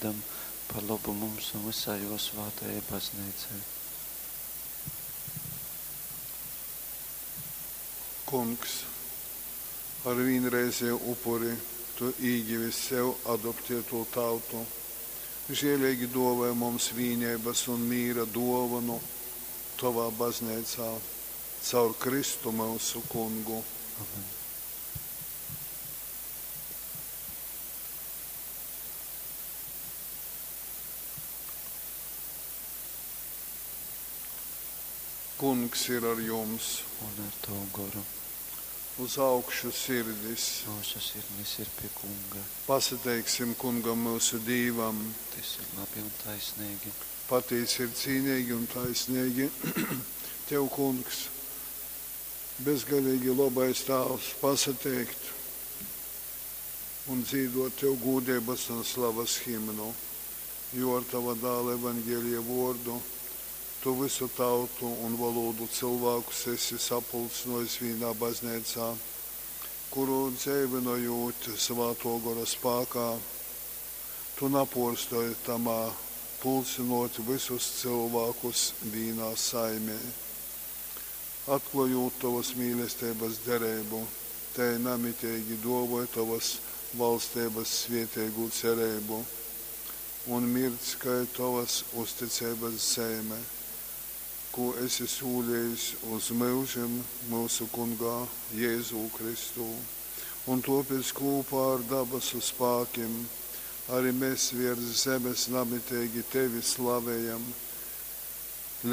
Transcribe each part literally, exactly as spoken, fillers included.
vārdam par lobu mums un vysai jō svātajai Bazneicai. Kungs, ar vīnreizeju upuri tu īgivi sev adoptētu tautu. Žēleigi dōvoj mums vīneibas un mīra dōvonu tovā bazneicā. Caur Kristu myusu Kungu. Amen. Kungs ir ar jums. Un ar tavu goru. Uz augšu sirdis. Myusu sirdis ir pie Kunga. Pasateiksim Kungam myusu Dīvam. Tas ir labi un taisnīgi. Patīsi ir cīnīgi un taisnīgi. Tev, Kungs, bezgalīgi labais Tāvs, pasateikt un dzīdot Tev gūdības un slavas himnu, jo ar Tava dāla evaņģēlija vordu Tu visu tautu un valodu cilvēkus esi sapulcinojis vīnā baznīcā, kuru dzeivinojot Svāto Gora spākā, Tu naporstoj tamā pulcinot visus cilvēkus vīnā saimē. Atklājot Tavas mīlestības derību, tai namitīgi dovoj Tavas valstības svietēgu cerību un mirdz, kai Tavas uzticības zeime, ko esi sūlījis uz myužim mūsu Kungā Jēzū Kristū. Un tāpēc kopā ar dabasu spākim arī mēs virs zemes namitīgi Tevi slavējam,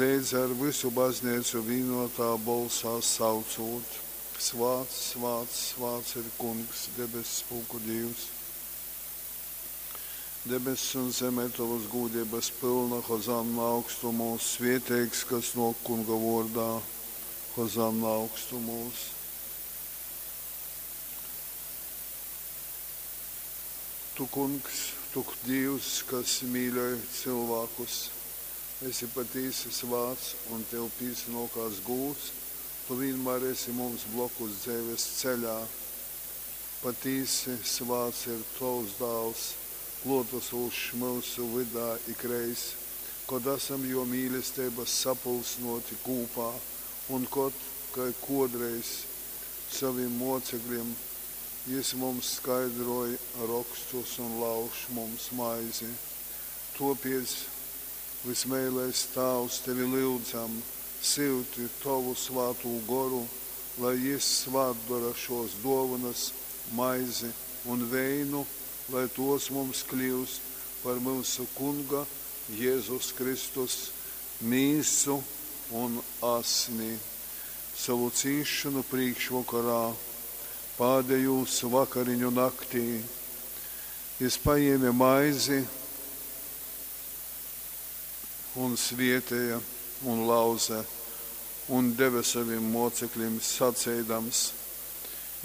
līdz ar visu baznīcu vienotā bolsā saucot: Svāts, svāts, svāts ir Kungs, debess spūku Dievs. Debess un zeme tavas gūdības pilna, Hozanna augstumos, svieteigs, kas no Kunga vordā, Hozanna augstumos. Tu, Kungs, tu Dievs, kas mīļoj cilvēkus, esi patīsi svāts un tev pīsnokās gūts, tu vienmēr esi mums blokus dzīves ceļā. Patīsi svāts ir tavs dāls, klotasūšs mūsu vydā ikreiz, kod esam jo mīlestības sapulsnoti kūpā un kod, kai kodreiz saviem mocekļiem, jis mums skaidroja rakstus un lauž mums maizi. Topiec, vismēlais Tāvs, tevi lūdzam, syuti tavu svātū goru, lai jis svātdara šos dovanas, maizi un veinu, lai tos mums kļūst par mūsu Kunga Jēzus Kristus mīsu un asni. Savu cīšanu priekšvakarā, pādējūs vakariņu naktī, jis paņēma maizi un svietēja un lauze un deva saviem mocekļiem sacēdams: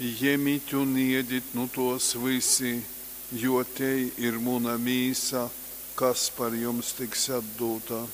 Jemit un iedit nu tos visi, jo te ir muna mīsa, kas par jums tiks atdota.